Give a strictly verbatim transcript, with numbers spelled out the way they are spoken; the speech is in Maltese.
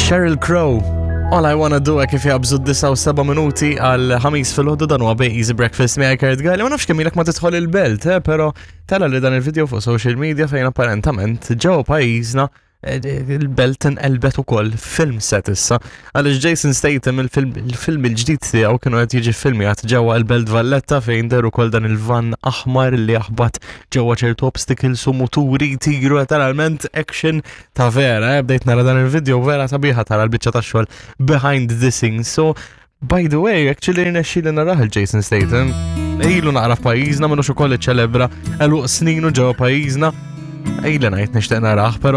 Sheryl Crow. All I Wanna Do kif jaqbżu disgħa u seba' minuti għal ħamis filgħodu, dan huwa Bej Easy Breakfast miegħi Kurt Galli. Ma nafx kemm ilek ma tidħol il-belt, eh, però tara li dan il-video fuq social media fejn apparentament ġew pajjiżna eh, il-belt inqelbet ukoll film set issa. Għaliex Jason Statham, il-film il-ġdid tiegħu kienu qed jiġi filmjat ġewwa l-Belt Valletta, fejn deru ukoll dan il-van aħmar li jaħbat ġewwa ċertu obstacles u muturi jtiru, letteralment action ta' vera, eh, bdejt nara dan il-video, vera sabiħa tara l-biċċa ta' xogħol behind the scenes. So, by the way, actually rnexxieli narah il-Jason Statham. Ilu naqra f'pajjiżna, minnu ukoll iċċelebra għeluq sninu ġewwa pajjiżna. Ejli ngħid nixtieq narah, però